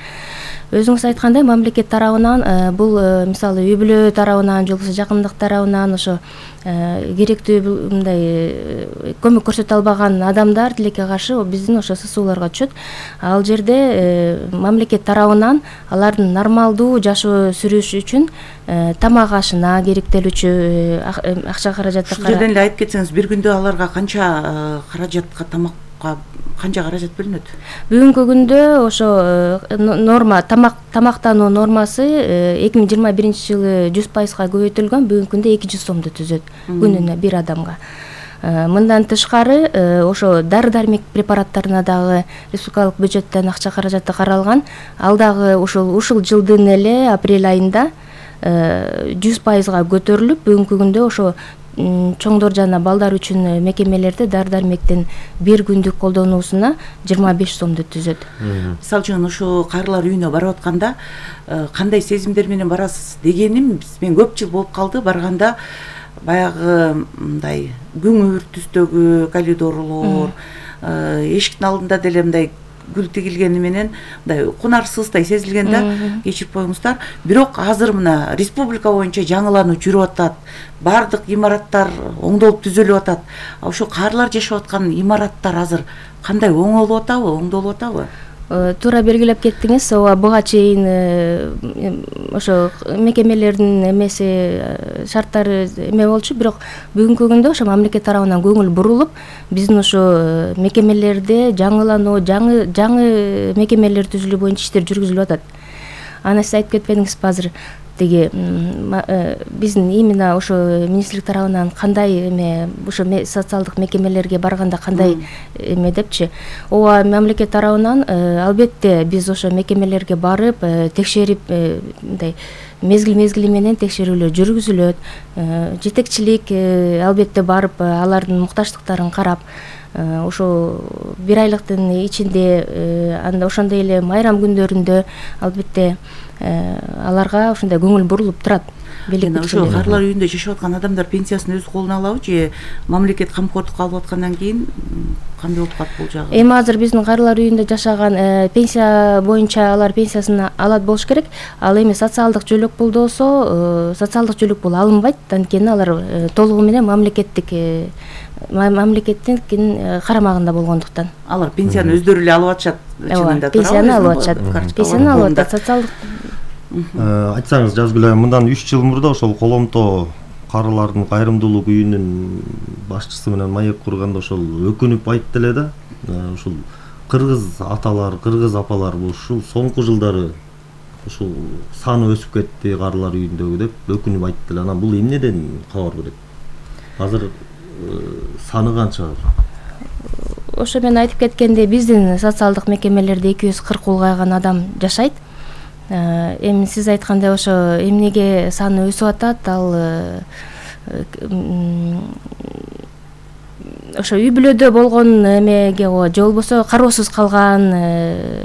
Өзүңүз айткандай, мамлекет тарабынан бул мисалы үй бүлө тарабынан, же болбосо жакындык тарабынан ошо керектүү мындай көмөк көрсөтө албаган адамдар тилекке каршы биздин ошо ССУларга түшөт. Ал жерде мамлекет тарабынан алардын нормалдуу жашоо сүрүшү үчүн тамак ашына керектелүүчү акча каражаты. Ушул жерден эле айтып кетсеңиз, бир күндө аларга канча каражатка тамакка канча каражат бөлүнөт? Бүгүнкү күндө ошо норма тамак тамактануу нормасы эки миң жыйырма биринчи жылы жүз пайызга көбөйтүлгөн. Бүгүнкү күндө эки жүз сомду түзөт күнүнө бир адамга. Мындан тышкары ошо дары-дармек препараттарына дагы республикалык бюджеттен акча каражаты каралган. Ал дагы ушул ушул жылдын эле апрель айында жүз пайызга көтөрүлүп, бүгүнкү күндө ошо чоңдор жана балдар үчүн мекемелерде дары-дармектин бир күндүк колдонуусуна жыйырма беш сомду түзөт. Мисалы үчүн ушу карылар үйүнө барып атканда кандай сезимдер менен барасыз дегеним, мен көп жыл болуп калды барганда, баягы мындай күңүр түстөгү коридорлор, эшиктин алдында деле мындай гүл тигилгени менен мындай кунарсыздай сезилген да, кечирип коюңуздар. Бирок азыр мына республика боюнча жаңылануу жүрүп атат. Бардык имараттар оңдолуп түзөлүп атат. Ошо карылар жашап аткан имараттар азыр кандай, оңолуп атабы, оңдолуп атабы? Туура белгилеп кеттиңиз. Ооба, буга чейин ошо мекемелердин эмеси шарттары эме болчу, бирок бүгүнкү күндө ошо мамлекет тарабынан көңүл бурулуп, биздин ошо мекемелерде жаңылануу, жаңы жаңы мекемелер түзүлүү боюнча иштер жүргүзүлүп атат. Аны сиз айтып кетпедиңизби азыр? Теги биздин именно ошо министрлик тарабынан кандай эме ошо социалдык мекемелерге барганда кандай эме депчи. Ооба, мамлекет тарабынан албетте биз ошо мекемелерге барып текшерип, мындай мезгил мезгили менен текшерүүлөр жүргүзүлөт. Жетекчилик албетте барып алардын муктаждыктарын карап, ошо бир айлыктын ичинде анда ошондой эле майрам күндөрүндө албетте аларга ушундай көңүл бурулуп турат. Ошо карылар үйүндө жашап аткан адамдар пенсиясын өз колуна алабы же мамлекет камкордукка алып аткандан кийин кандай болуп калат бул жагы? Эми азыр биздин карылар үйүндө жашаган пенсия боюнча алар пенсиясын алат болуш керек. Ал эми социалдык жөлөк пул болсо, социалдык жөлөк пул алынбайт. Анткени алар толугу менен мамлекеттик мамлекеттин карамагында болгондуктан. Алар пенсияны өздөрү эле алып атышат, чынында туурабы? Пенсияны алып атышат. Пенсияны алып атат. Социалдык Айтсаңыз, Жазгүл айым, мындан үч жыл мурда ошол коломто карылардын кайрымдуулук үйүнүн башчысы менен маек курганда ошол өкүнүп айтты эле да, ушул кыргыз аталар, кыргыз апалар ушул соңку жылдары ушул саны өсүп кетти карылар үйүндөгү деп өкүнүп айтты эле. Анан бул эмнеден кабар берет? Азыр саны канча? Ошо мен айтып кеткендей, биздин социалдык мекемелерде эки жүз кырк улгайган адам жашайт. Эми сиз айткандай ошо эмнеге саны өсүп атат, ал ошо үй бүлөдө болгон эмеге же болбосо кароосуз калган